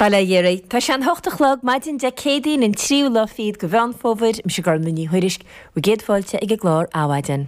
Bail ó Dhia oraibh. Tá sé an hocht a chlog, maidin Dé Céadaoin an tríú lá fichead de Mheán Fómhair, mise Gormlaith Ní Thuairisg, bhur gcéad fáilte ag an gclár Adhmhaidin.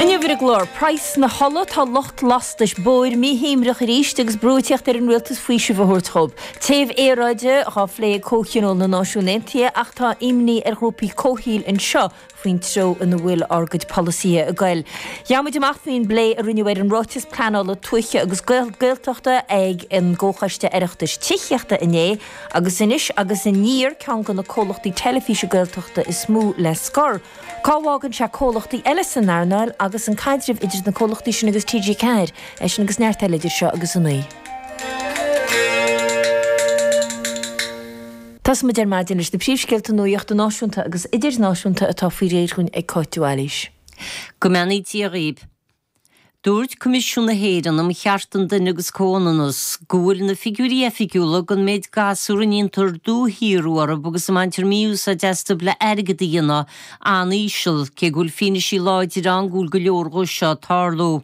Inniu ar an gclár, Praghas na hola, tá lucht lastais bóthair míshuaimhneach arís agus brú ag tíocht ar an rialtas faoiseamh a thabhairt dhóibh. Téamh aeráide dhá phlé ag Comhthionól na Náisiún Aontaithe ach tá imní ar ghrúpaí comhshaoil anseo faoin treo ina bhfuil ár gcuid polasaithe ag goil. Gheobhaidh muid amach faoin bplé a rinneadh ar an Ráiteas Pleanála Tuaithe agus Gaeltachta ag an gComhchoiste Oireachtais Tithíochta inné agus Anois agus Aniar, ceann de na comhlachtaí teilifíse Gaeltachta is mó le scor. Cá bhfágann sé comhlachtaí eile san earnáil agus an caidreamh idir na comhlachtaí sin agus TG4? É sin agus neart eile idir seo agus a 9. Tosóidh muid ar maidin leis na príomhscéalta nuachta náisiúnta agus idirnáisiúnta atá faoi réir dhúinn ag Cáit de Bhailís. Go mbeannaí Dia dhaoib. Dúirt Coimisiún na hÉireann um Chearta an Duine agus Comhionannas go bhfuil na figiúirí oifigiúla den méid gasúr a ndéantar dúshaothrú orthu agus a mbaintear mí-úsáid astu le airgead a dhéanamh an-íseal, cé go bhfuil fianaisí láidir ann go bhfuil go leor dhó seo ag tarlú.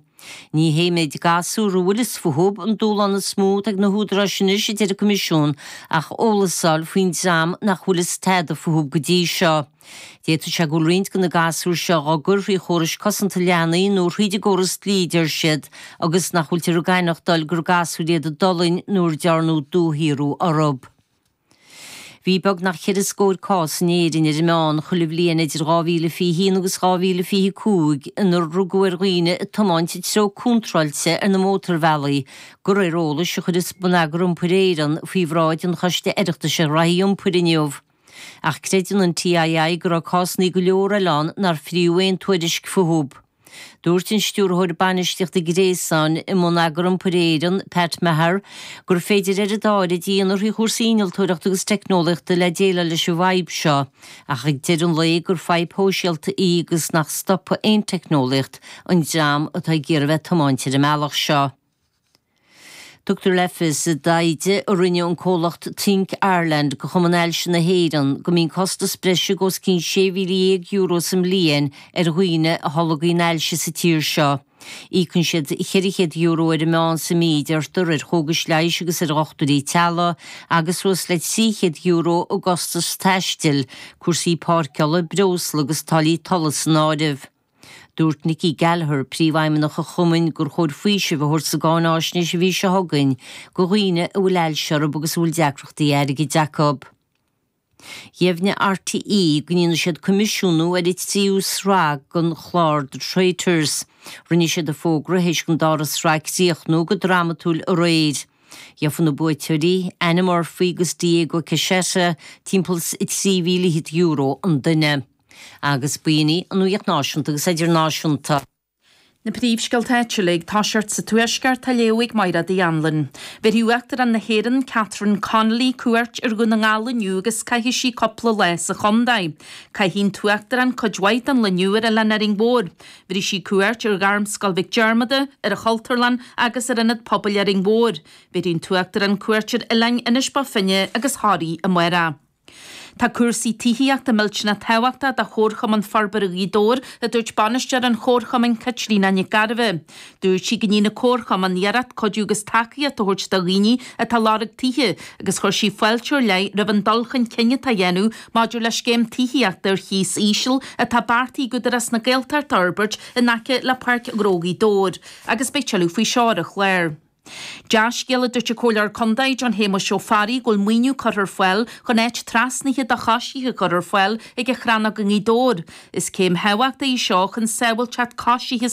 Ní hé méid gasúr a bhfuil fhios fúthu an dúshlán is mó atá ag na húdaráis anois, a deir an Coimisiún, ach eolas a fháil faoin dream nach bhfuil fhios tada fúthu go dtí seo. D'fhéadfadh sé go bhfuil roinnt de na gasúir seo dhá gcur thrí chórais cosanta leanaí nó thríd an gcóras dlí, a deir siad, agus nach bhfuiltear ag aithneachtáil gur gasúir iad a d'fhulaing nó ar dearnadh dúshaothrú orthu. Bhí beagnach cheithre scór cás in Éirinn ar an meán chuile bhliain idir 2021 agus 2025 inar rugadh ar dhaoine ag tiomáint i dtreo contráilte ar na mótarbhealaí, de réir eolais a chuir Bonneagar Iompair Éireann faoi bhráid an Choiste Oireachtais ar Ghraithí Iompair inniu. Ach creideann an TII go raibh cásanna go leor eile ann nár fríodh aon tuairisc fúthu. Dúirt an Stiúrthóir Bainistíochta Gréasáin i mBonneagar Iompair Éireann, Pat Meagher, gur féidir oiread áirid a dhéanamh thrí chúrsaí innealtóireachta agus teicneolaíochta le déileáil leis an bhfadhb seo, ach ag deireadh an lae gur fadhb shóisialta í agus nach stopfaidh aon teicneolaíocht an dream atá ag iarraidh bheith ag tiomáint ar an mbealach seo. Tugtar le fios i dtaighde a rinne an comhlacht Think Ireland do Chumann Ailse na hÉireann go mbíonn costas breise de os cionn €16,000 sa mbliain ar dhaoine a tholgaíonn ailse sa tír seo. Íocann siad €400 ar an meán sa mí, deirtear, ar chógais leighis agus ar dhochtúirí teaghlaigh agus suas le €300 i gcostas taistil, cúrsaí páirceála, breosla agus táillí tolla san áireamh. Dúirt Nikki Gallagher, Príomhfheidhmeannach an Chumainn, gur chóir faoiseamh a thabhairt sa gcáináisnéis an mhí seo chugainn do dhaoine a bhfuil ailse orthu agus a bhfuil deacrachtaí airgid acu. Dheimhnigh RTÉ go ndéanfaidh siad coimisiúnú ar an tríú sraith den chlár The Traitors. Rinne siad an fógra théis don dara sraith críochnú go drámatúil aréir. Gheofaidh na buaiteoirí, Anna Murphy agus Diego Cassetta, timpeall is €23,000 an duine. Agus b'in í an nuacht náisiúnta agus idirnáisiúnta. Na príomhscéalta áitiúla ag toiseacht sa Tuaisceart á léamh ag Máire Uí Anluain. Bhéarfaidh Uachtarán na hÉireann, Catherine Connolly, cuairt ar Dhún na nGall inniu agus caithfidh sí cúpla lá sa chontae. Caithfidh an tUachtarán cuid mhaith den lá inniu ar Oileán Árainn Mhór. Bhéarfaidh sí cuairt ar Ghairmscoil Mhic Diarmada, ar an Chultúrlann agus ar Ionad Pobail Árainn Mhór. Bhéarfaidh an tUachtarán cuairt ar oileáin Inis Bó Finne agus Thoraí amárach. Tá cúrsaí tithíochta millteanach tábhachtach do Chomharchumann Forbartha Ghaoth Dobhair, a dúirt bainisteoir an chomharchumainn Caitríona Nic Gairbheith. Dúirt sí go ndéanann an comharchumann iarracht cuidiú agus tacaíocht a thabhairt do dhaoine atá ag lorg tithe agus chuir sí fáilte ar leith roimh an dul chun cinn atá á dhéanamh maidir le scéim tithíochta ar chíos íseal atá beartaithe ag Údarás na Gaeltachta a fhorbairt in aice le Páirc Ghnó Ghaoth Dobhair agus beidh tuilleadh faoi seo ar an chlár. Dea-scéal a dúirt an Comhairleoir Contae John Shéamuis Ó Fearraigh go bhfuil maoiniú curtha ar fáil chun áit trasnaithe do choisithe a chur ar fáil ag an Chrannóg i nGaoth Dobhair. Is céim thábhachtach í seo chun sábháilteacht coisithe sa.